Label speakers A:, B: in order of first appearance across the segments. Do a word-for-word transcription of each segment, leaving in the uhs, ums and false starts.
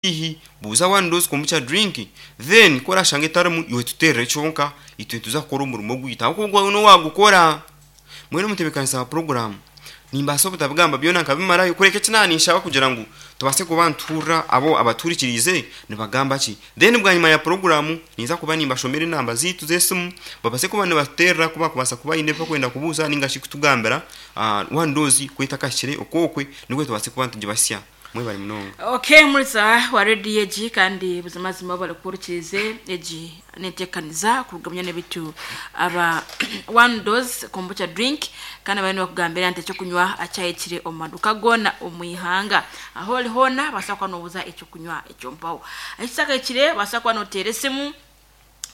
A: Ihi buuza one dose kombucha drink, then ku orashanga etarimu, iwe tuteerere kyonka, itwe nituza kukora omurimo gwaitu ahabw'okuba ogwawe n'owagukora. Mbwenu omutebeekanisa wa puroguraamu nimbaasa obutabigamba byona nkabimarayo, kureka eki naaba ninshaba kugira ngu tubaase kuba nituhurira abo abatuhurikiriize nibagamba ki. Then bwanyima ya puroguraamu ninza kuba nimbashomera enamba zaitu z'esimu, babaase kuba nibatuteerera ku bakubaasa kuba baine ebi barikwenda kubuuza ningashi kutugambira one dose ku etakahikire okwokwe, nikwo tubaase kuba nitugibasya. Mwebare munonga.
B: Okay, muriza wa rediyo egi kandi buzimazima barikuhurikirize egi nentekaniza kurugamya n'ebitu aba one dose kombucha drink, kandi bari nibakugambira nti ekyokunywa akyahikire omu maduka goona omu ihanga. Aho ori hoona baasa kuba nobuuza ekyokunywa ekyo mpaho ekitakahikire, baasa kuba noteera esimu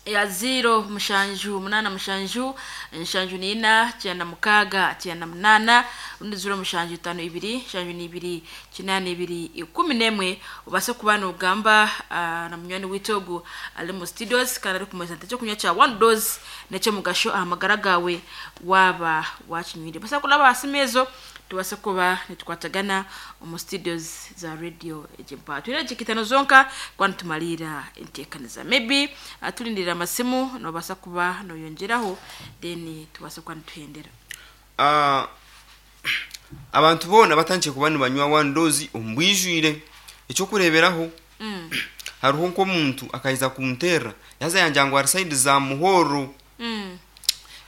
B: ya ziro mushanju munaana mushanju nshanju niina kyenda mukaaga kyenda munaana, rundi ziro mushanju itaano ibiri nshanju niibiri kinaana ibiri ikumi n'emwe, obaase kuba nogamba ah, na munywani waitu ogu ari mu studios kandi arikumanyisa nti ekyokunywa kya one dose n'ekyomugasho aha magara gaawe waaba wakinywire. Baasa kuraba aha simu ezo tubaase kuba nitukwatagana omu studios za radio egi mpaha. Twine edakika itaano zonka kuba nitumariira enteekaniza. Maybe ah, turindirira amasimu, nobaasa kuba noyongyeraho, then tubaase kuba nituhendera.
A: Ah, abantu boona batandikire kuba nibanywa one dose omu bwijwire. Ekyokureeberaho,
B: Mm.
A: hariho nk'omuntu akaiza kunteerera, yaaza yangira ngu ari side za Muhorro.
B: Mm.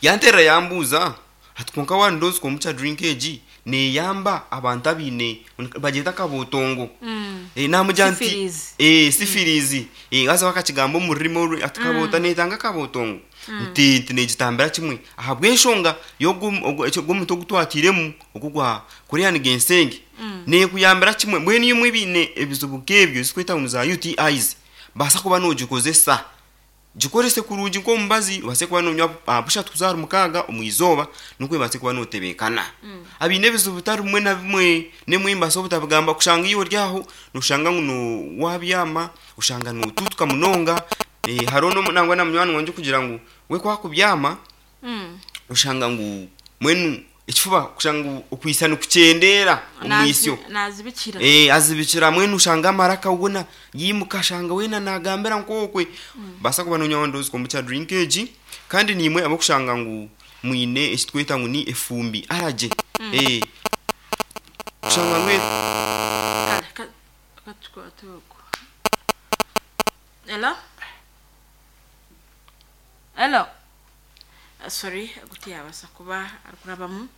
A: Yanteerera yambuuza ati, "Kwonka one dose kombucha drink egi neeyamba abantu abaine bagyeta akabotongo?"
B: Mm.
A: Eh, namugira nti
B: Syphilis.
A: eh syphilis, eh haza bakakigamba omu rurimi oru ati kabota netanga akabotongo, nti nti negitambira kimwe ahabw'enshonga y'omuti ogu twatiiremu ogu gwa Korean ginseng, nekuyambira kimwe. Mbwenu imwe ebiine ebizibu nk'ebyo ezitweta ngu za U T Is, baasa kuba nogikozesa, gikorese kurungi nk'omubazi, obaase kuba nonywa ah, bushatu kuza ahari mukaaga omu izooba, nikwo obaase kuba notebeekana. Abiine ebizibu bitari bimwe na bimwe, nemwe mbaasa obutabigamba, kushanga iwe ori aho noshanga ngu no wabyama oshanga notuutuka munonga. eh, hariho n'omu- nangwa na munywani wangye kugira ngu we kwakubyama
B: Mm.
A: oshanga ngu mbwenu ekifuba kushanga ngu okwisa nikukyendera omwisyo.
B: Nazi- nazibikira
A: Eh, azibikira. Mwenu ushanga amaraka wona yimuka, ashanga wena nagambira nkokwe. Basa kuba nonywa one dose kombucha drink egi. Kandi nimwe abokushanga ngu mwine ekitweta ngu ni efumbi arage, eh kushanga ngu
B: Kale, ka- katukwate okwo. Hello, hello. Ah, sorry, guti yabasa kuba arikurabamu.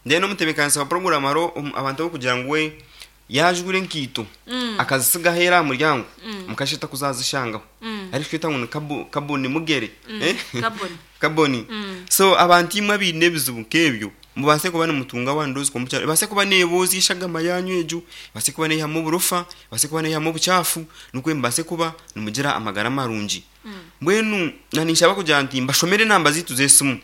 A: Then omutebekanisa wa program, hariho omu- abantu abokugira ngu we yajura enkaito
B: Mm.
A: akazisiga aheera aha muryango,
B: Mm.
A: mukasheta kuzazishangaho,
B: Mm.
A: ariko tweta ngu ni kabo- kaboni mugere.
B: Mm,
A: Eh?
B: Kaboni.
A: Kaboni.
B: Mm.
A: So abantu imwe abaine ebizibu nk'ebyo, mubase kuba nimutunga one dose kombucha, ebase kuba neeboozya eshagama yanyu egyo, ebase kuba neihamu oburofa, ebase kuba neihamu obukyafu, nikwo mubase kuba nimugira amagara marungi. Mbwenu naninshaba kugira nti mbashomere enamba zaitu z'esimu,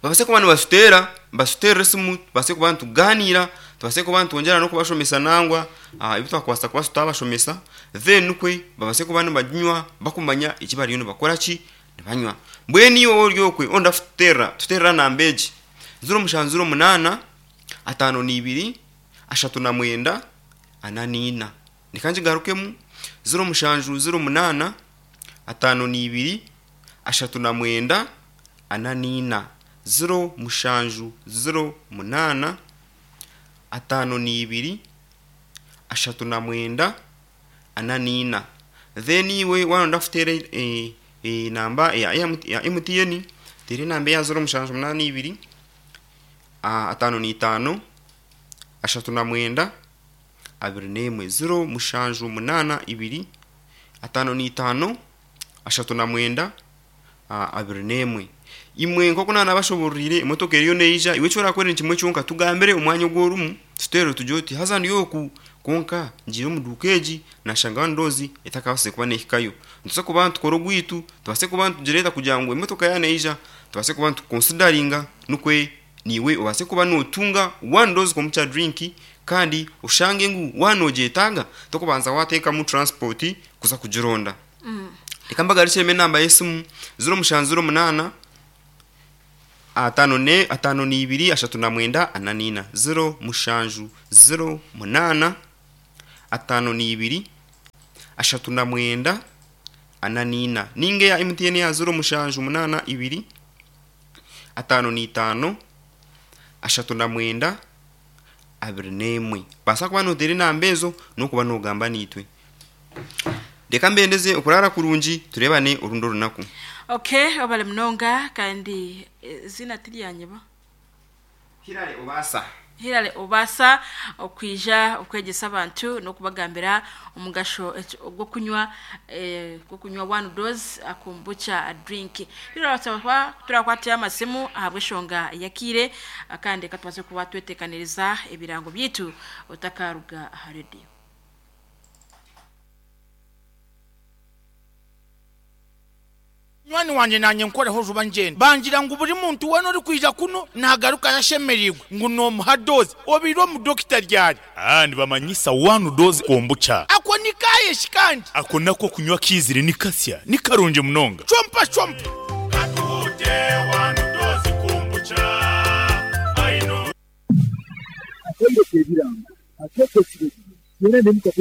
A: babase kuba nibatuteera, batuteerere esimu, tubase kuba nituganiira, tubase kuba nitwongyera n'okubashomesa nangwa ah, ebi twakubaasa kuba tutabashomesa, then nikwe babase kuba nibaginywa bakumanya eki bariyo nibakora ki nibanywa. Mbwenu iwe ori okwe onda kututeerera, tuteerera namba egi: ziro mushanju ziro munaana ataano n'ibiri ashatu na mwenda ana niina. Reka ngigarukemu: ziro mushanju ziro munaana ataano n'ibiri ashatu na mwenda ana niina, ziro mushanju ziro munaana ataano n'ibiri ashatu na mwenda ana niina. Then iwe waronda kuteera eh, eh, namba ya, ya, ya M T N, teera enamba eya ziro mushanju munaana ibiri ah, ataano n'itaano ashatu na mwenda abiri n'emwe, ziro mushanju munaana ibiri ataano n'itaano ashatu na mwenda ah, abiri n'emwe. Imwe nk'oku naanabashobororire, emotoka eriyo neija. Iwe ekyorakora ni kimwe kyonka: tugambire omwanya ogu orimu, tuteere tugire oti, "Haza ndi oku, kwonka ngiire omu duuka egi nashanga one dose etakabaasize kuba neehikayo." Nituza kuba nitukora ogwitu, tubase kuba nitugireeta kugira ngu emotoka yaneija tubase kuba nitukonsidaringa, nikwe niiwe obaase kuba notunga one dose kombucha drink, kandi oshange ngu wanogyetaaga tokubanza wateekamu transport kuza kugironda. Reka mbagarukiremu enamba y'esimu: ziro mushanju ziro munaana ataano ne ataano n'ibiri ashatu na mwenda ana niina, ziro mushanju ziro munaana ataano n'ibiri. ashatu na mwenda ana n'ina. Ninga eya M T N ya ziro mushanju munaana ibiri ataano n'itaano ashatu na mwenda abiri n'emwe. Baasa kuba noteera enamba ezo n'okuba nogamba niitwe. Reka mbendeze okurara kurungi, turebane orundi orunaku.
B: Okay, obale munonga. Kandi eh, zina tiryanyeba.
A: Hirare Obasa.
B: Hirare Obasa, okwija okwegesa abantu n'okubagambira omugasho eki- ogw'okunywa eh, gw'okunywa One Dose Kombucha drink. Rero turakwatira amasimu ahabw'eshonga yakiire, kandi reka tubaze kuba twetekaniriza ebirango byitu otakaruga aha rediyo.
C: Nywani wanje, nanye nkoreho juba ngenda bangira ngu buri muntu wena uri kwija kuno nagaruka yashemerirwe ngu nomuha dose obire omudokita ryari.
D: Ah, nibamanyisa One Dose Kombucha.
C: Ako ni kayeshi kandi?
D: Ako nako kunywa kizire ni kasya, ni karungi munonga.
C: Chompa chompa.
D: Katuhute One Dose Kombucha. Aino.
E: Akendeka ebirango akeekesire yena nemukate.